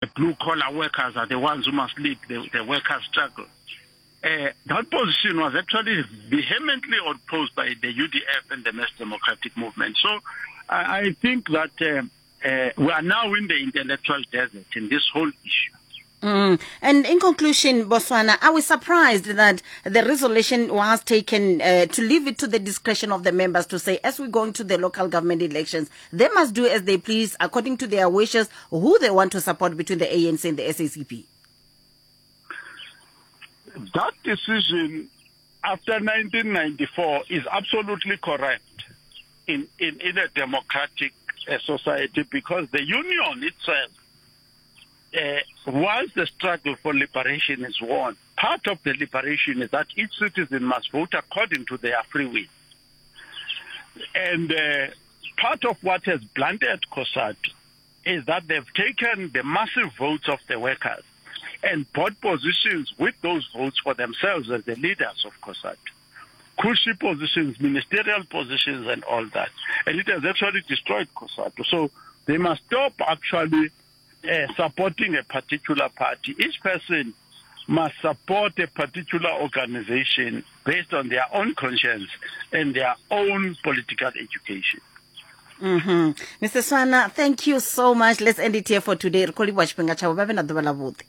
The blue collar workers are the ones who must lead the, the workers' struggle. Uh, that position was actually vehemently opposed by the UDF and the Mass Democratic Movement. So I, I think that uh, uh, we are now in the intellectual desert in this whole issue. Mm. And in conclusion, Botswana, are we surprised that the resolution was taken uh, to leave it to the discretion of the members to say, as we go into the local government elections, they must do as they please according to their wishes, who they want to support between the ANC and the SACP? That decision after 1994 is absolutely correct in, in, in a democratic uh, society because the union itself uh, once the struggle for liberation is won, part of the liberation is that each citizen must vote according to their free will. And uh, part of what has blunted COSATU is that they've taken the massive votes of the workers and bought positions with those votes for themselves as the leaders of COSATU. Cushy positions, ministerial positions and all that. And it has actually destroyed COSATU. So they must stop actually uh, supporting a particular party. Each person must support a particular organization based on their own conscience and their own political education. Mm -hmm. Mr. Swana, thank you so much. Let's end it here for today. Ri khou livhuwa tshifhinga tshavho vha vhe na ḓuvha ḽa vhuḓi.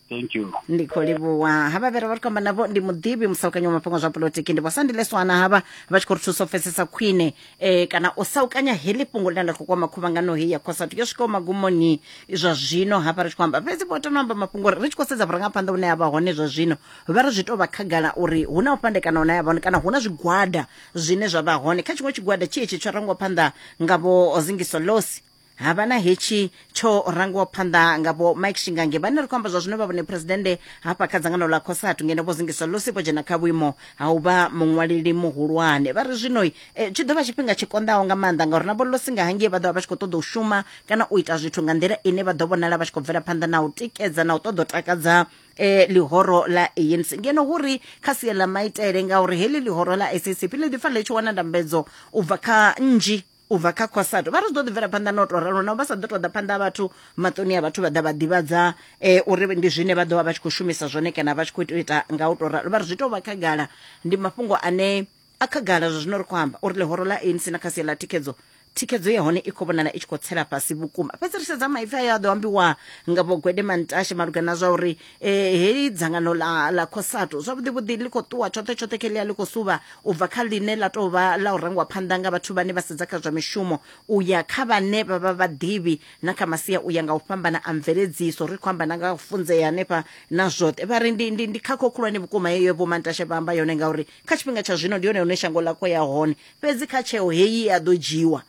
Thank you. Ndi khou livhuwa havha vhe ra vha ri khou amba navho ndi muḓivhi musaukanyi wa mafhungo zwa polotiki ndi vhosandile swana havha vha tshi khou ri thusa u pfesesa khwine eh, kana u saukanya heḽi fhungo ḽine ḽa khou kwama khuvhangano heyi ya cosatu yo swikaho magumoni zwa zwino hafha ri tshi khou amba fhedzi vho tano amba mafhungo uri ri tshi khou sedza vhurangaphanḓa vhune ha vha hone zwa zwino vha ri zwi tou vha khagala uri hu na u fhandekana hune ha vha hone kana hu na zwigwada zwine zwa vha hone kha tshiṅwe tshigwada tshi hetshi tsho rangwa phanḓa nga vho zingiso losi Ha vha na hetshi tsho rangiwaho phanḓa nga Vho Mike Shingange vhane ri khou amba zwa zwino vha vhone phresidennde hafha kha dzangano ḽa COSATU ngeno Vho Zingiswa Lusi vho dzhena kha vhuimo ha u vha muṅwaleli muhulwane. Vha ri zwino eh, tshi ḓo vha tshifhinga tshi konḓaho nga maanḓa ngauri na Vho Lusi nga hangei vha ḓo vha vha tshi khou ṱoḓa u shuma kana u ita zwithu nga nḓila ine vha ḓo vhonala vha tshi khou bvela phanḓa na u tikedza na u ṱoḓa u takadza eh, ḽihoro ḽa ANC ngeno hu ri kha sia ḽa maitele ngauri heḽi ḽihoro ḽa SACP ḽi ḓi fanela ḽi tshi wana ndambedzo u bva kha nnzhi u bva kha cosatu vha ri zwi ḓo ḓi bvela phanḓa na u tou ralo naho vha sa ḓo tou ḓa phanḓa ha vhathu maṱoni a vhathu vha ḓa vha ḓivhadza um uri ndi zwine vha ḓo vha vha tshi khou shumisa zwone kana vha tshi khou ita nga u tou ralo vha ri zwi tou vha khagala ndi mafhungo ane a khagala zwa zwino ri khou amba uri ḽihoro ḽa anc na kha sia ḽa thikhedzo thikhedzo ya hone i khou vhonala i tshi khou tsela fhasi vhukuma fhedzi ri sedza maipfi ayo a ḓo ambiwa nga vho gwede mantashe malugana na zwa uri eh, heli dzangano ḽa ḽa cosatu zwavhuḓi vhuḓi ḽi khou ṱuwa tshoṱhe tshoṱhe kheḽia ḽi khou suvha u bva kha ḽine ḽa tou vha ḽa u rangwa phanḓa nga vhathu vhane vha sedza kha zwa mishumo u ya kha vhane vha vha vhaḓivhi na kha masia u ya nga u fhambana a mveledziso ri khou amba na nga u funzea hanefha na zwoṱhe vha ri ndi, ndi, ndi khakho khulwane vhukuma heyo vho Mantashe vha amba yone ngauri kha tshifhinga tsha zwino ndi yone hune shango ḽa khou ya hone fhedzi kha tsheo heyi ya ḓo dzhiwa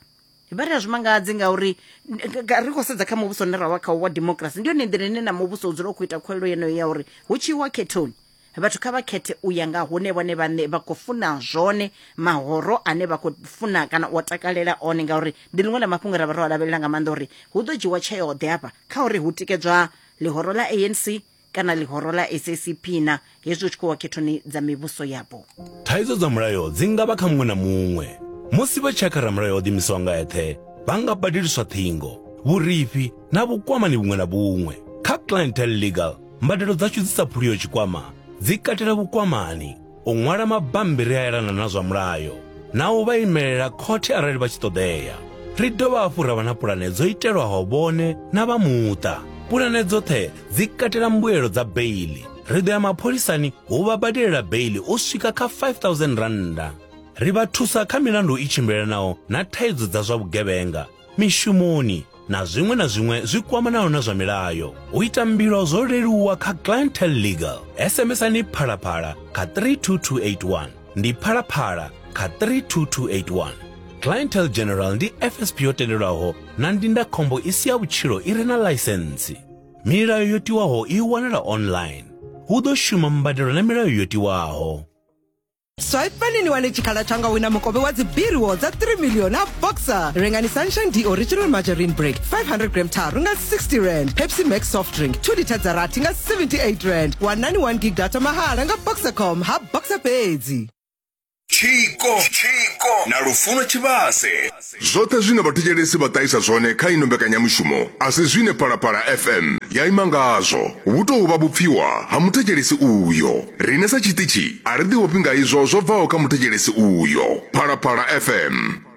vha ri a zwi mangadzi ngauri ri khou sedza kha muvhuso une ra vha khawo wa democracy ndi yone nḓila ine na muvhuso u dzula u khou ita khuwelelo yeneyo ya uri hu tshi iwa khethoni Vhathu kha vha khethe u ya nga hune vhone vhaṋe vha khou funa zwone, mahoro ane vha khou funa kana u a takalela one, ngauri ndi ḽiṅwe ḽa mafhungo ra vha ro a lavhelela nga maanḓa uri hu ḓo dzhiwa tsheo-ḓe hafha kha uri hu tikedzwa ḽihoro ḽa ANC kana ḽihoro ḽa SACP na hezwi hu tshi khou wa khethoni dza mivhuso yapo. Thaidzo dza mulayo dzi nga vha kha muṅwe na muṅwe. Musi vha tshi ya kha ramulayo o ḓiimisaho nga eṱhe, vha nga badeliswa ṱhingo, vhurifhi na vhukwamani vhuṅwe na vhuṅwe. Kha Clientele Legal, Mbadelo dzashu dzi sa phuliho tshikwama dzi katela vhukwamani, u ṅwala mabammbiri a elana na zwa mulayo, na u vha imelela khothe arali vha tshi ṱoḓea. Ri dovha hafhu ra vha na pulane dzo itelwaho vhone na vha muṱa. Pulane dzoṱhe dzi katela mbuelo dza beiḽi. Ri ḓo ya mapholisani u vha badelela beiḽi u swika kha R5000. Ri vha thusa kha milandu i tshimbilelanaho na thaidzo dza zwa vhugevhenga, mishumoni na zwiṅwe na zwiṅwe zwi kwamanaho na zwa milayo. U ita mbilo zwo leluwa kha Clientele Legal. SMSani Phalaphala kha 32281. Ndi Phalaphala kha 32281. Clientele General ndi FSP yo tendelwaho na ndindakhombo i si ya vhutshilo i re na ḽaisentsi. Milayo yo tiwaho i wanala online. Hu ḓo shuma mbadelo na milayo yo tiwaho. Swipani ni wane tshikhala tsha nga wina mukovhe wa dzi B-rewards dza 3 million na Boxer. Rengani Sunshine D Original Margarine Break 500 gram tharu nga 60 rand, Pepsi Max soft drink 2 litha dza rathi nga 78 rand, wanani 1 gig data mahala nga Boxercom ha Boxer fhedzi. Tshiko Tshiko na Lufuno Tshivhase. Zwoṱhe zwine vhathetshelesi vha ṱahisa zwone kha ino mbekanyamushumo a si zwine Phalaphala FM ya ima ngazwo. Vhu tou vha vhupfiwa ha muthetshelesi uyo. Riṋe sa tshiṱitshi a ri ḓiofhi nga izwo zwo bvaho kha muthetshelesi uyo. Phalaphala FM.